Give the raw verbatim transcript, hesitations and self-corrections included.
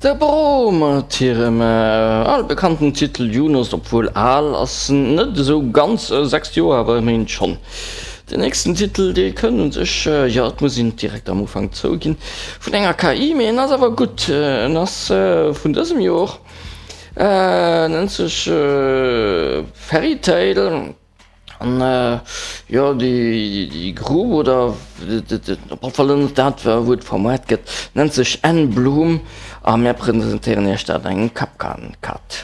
De Bro mat hirem albekannten Titel Junos, obwuel al ass en net esou ganz, sechs Joer awer ëmmerhin schonn. Den nächsten Titel dee kënnt un sech, jo et muss een et direkt am Ufank zouginn, vun enger K I, mee en ass awer gutt, en ass vun dësem Jor, nennt sech Fairy Tale. An jo, déi Grupp, oder op alle Fall ënnert dat wou et vermoart gëtt, nennt sech Enn Bloom a mär presentéieren iech dat an engem Kapkan Cut.